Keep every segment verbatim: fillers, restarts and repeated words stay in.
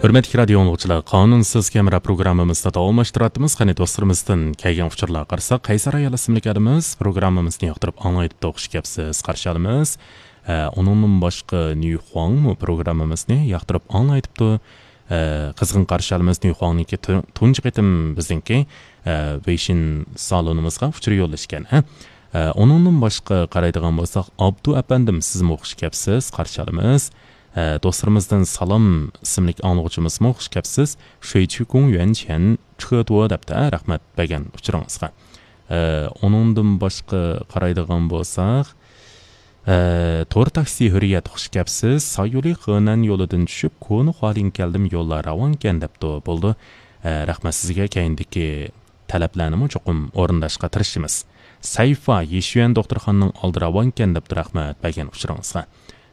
ھۆرمەتلىك رادىيو ئاڭلىغۇچىلار، قانۇنسىز كامېرا پروگراممىمىزنى داۋاملاشتۇرۇۋاتىمىز. قېنى، دوستلىرىمىزدىن كەلگەن ئۇچۇرلارغا قارىساق، قەيسەر ئايال ئىسىملىك ئادىمىز پروگراممىمىزنى ياقتۇرۇپ ئاڭلايدۇ، خۇش كەپسىز، قارشى ئالىمىز. ئە، ئۇنىڭدىن باشقا نيۇخۇاڭمۇ پروگراممىمىزنى ياقتۇرۇپ ئاڭلايدىپتۇ. ئە، قىزغىن قارشى ئالىمىز نيۇخۇاڭنىڭكى تۇ-، تۇنجى قېتىم بىزنىڭكى، ئە، ۋېيشىن سالونىمىزغا ئۇچۇر يوللىشىكەن، ھە؟ ئە، ئۇنىڭدىن باشقا قارايدىغان بولساق، ئابدۇ ئەپەندىم، سىزمۇ خۇش كەپسىز، قارشى ئالىمىز. ئە، دوستلىرىمىزدىن سالام ئىسىملىك ئاڭلىغۇچىمىزمۇ خۇش كەپسىز. شۇيچىكۇڭ يۈەنچيەن چىقىدۇ دەپتۇ، ھە، رەھمەت بەرگەن ئۇچۇرىڭىزغا. ئە، ئۇنىڭدىن باشقا قارايدىغان بولساق، ئە، تور تاكسى ھۆرىيەت، خۇش كەپسىز. سايولى خېنەن يولىدىن چۈشۈپ، كونا خۇالىڭ كەلدىم، يوللار راۋانكەن دەپتۇ. بولدى. ئە، رەھمەت سىزگە، كەينىدىكى تەلەپلەرنىمۇ چوقۇم ئورۇنداشقا تىرىشىمىز. سەيفا، يىشيۈەن دوختۇرخانىنىڭ ئالدى راۋانكەن دەپتۇ، رەھمەت بەرگەن ئۇچۇرىڭىزغا.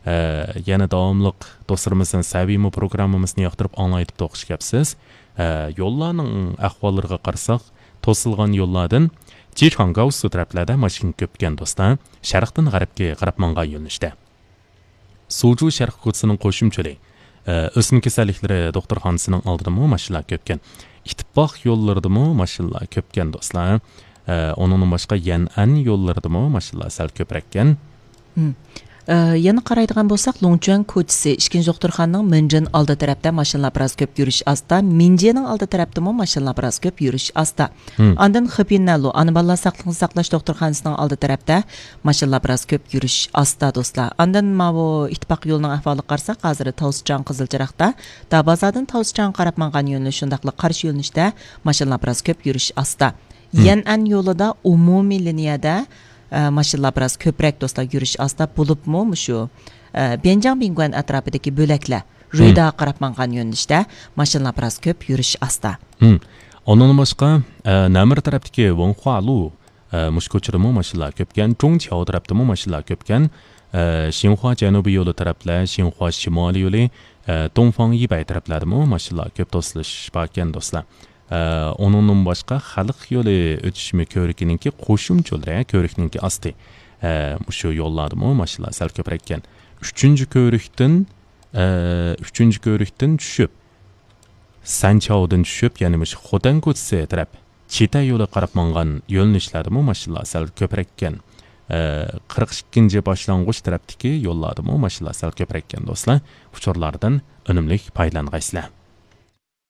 ئە، يەنە داۋاملىق دوستلىرىمىزدىن سەۋىيمۇ پروگراممىمىزنى ياقتۇرۇپ ئاڭلايدىپتۇ، خۇش كەپسىز. ئە، يوللارنىڭ ئەھۋاللىرىغا قارىساق، توسۇلغان يوللاردىن جىچاڭگاۋسۇ تەرەپلەردە ماشىنا كۆپكەن دوستلار. شەرقتىن غەربكە قاراپ ماڭغان يۆنىلىشتە. سۇجۇ شەرقىي كوچىسىنىڭ قوشۇمچىلى، ئە، ئۆسمە كېسەللىكلىرى دوختۇرخانىسىنىڭ ئالدىدىمۇ ماشىنىلار كۆپكەن. ئىتتىپاق يوللىرىدىمۇ ماشىنىلار كۆپكەن دوستلار. ئە، ئۇنىڭدىن باشقا يەنئەن يوللىرىدىمۇ ماشىنىلار سەل كۆپرەككەن. مم. ئە، يەنە قارايدىغان بولساق، لوڭچۈەن كوچىسى، ئىككىنچى دوختۇرخانىنىڭ مىنجىن ئالدى تەرەپتە ماشىنىلار بىراز كۆپ، يۈرۈش ئاستا. مىنجىنىڭ ئالدى تەرەپتىمۇ ماشىنىلار بىراز كۆپ، يۈرۈش ئاستا. مم. ئاندىن خېپىنەلو، ئانا بالىلار ساقلىقنى ساقلاش دوختۇرخانىسىنىڭ ئالدى تەرەپتە ماشىنىلار بىراز كۆپ، يۈرۈش ئاستا دوستلار. ئاندىن ماۋۇ ئىتتىپاق يولىنىڭ ئەھۋالىغا قارىساق، ھازىر تاۋسىچاڭ قىزىل چىراغدا، دابازاردىن تاۋسىچاڭغا قاراپ ماڭغان يۆنىلىش، شۇنداقلا قارشى يۆنىلىشتە ماشىنىلار بىراز كۆپ، يۈرۈش ئاستا. مم. يەنئەن يولىدا ئومۇمىي لىنىيەدە، ئە، ماشىنىلار بىراز كۆپرەك دوستلار، يۈرۈش ئاستا. بولۇپمۇ مۇشۇ، ئە، بيەنجاڭ بىڭگۇەن ئەتراپىدىكى بۆلەكلەر، مم. رۆيداغا قاراپ ماڭغان يۆنىلىشتە ماشىنىلار بىراز كۆپ، يۈرۈش ئاستا. مم. ئۇنىڭدىن باشقا، ئە، نەمىر تەرەپتىكى ۋېڭخۇالۇ، ئە، مۇشۇ كوچىدىمۇ ماشىنىلار كۆپكەن. چۇڭچياۋ تەرەپتىمۇ ماشىنىلار كۆپكەن. ئە، شىنخۇا جەنۇبىي يولى تەرەپلەر، شىنخۇا شىمالىي يولى، ئە، دۇڭفاڭ يىبەي تەرەپلەردىمۇ ماشىنىلار كۆپ توسۇلۇش باركەن دوستلار. ئە، ئۇنىڭدىن باشقا خەلق يولى ئۆتۈشمە كۆۋرۈكىنىڭكى قوشۇمچىلىرى، كۆۋرۈكنىڭكى ئاستى. ئە، مۇشۇ يوللاردىمۇ ماشىنىلار سەل كۆپرەككەن. ئۈچىنچى كۆۋرۈكتىن، ئە، ئۈچىنچى كۆۋرۈكتىن چۈشۈپ، سەنچاۋدىن چۈشۈپ، يەنى مۇشۇ خوتەن كوچىسى تەرەپ چىتە يولى قاراپ ماڭغان يۆنىلىشلەردىمۇ ماشىنىلار سەل كۆپرەككەن. ئە، قىرىق ئىككىنچى باشلانغۇچ تەرەپتىكى يوللاردىمۇ ماشىنىلار سەل كۆپرەككەن دوستلار. ئۇچۇرلاردىن ئۈنۈملۈك پايدىلانغايسىلەر.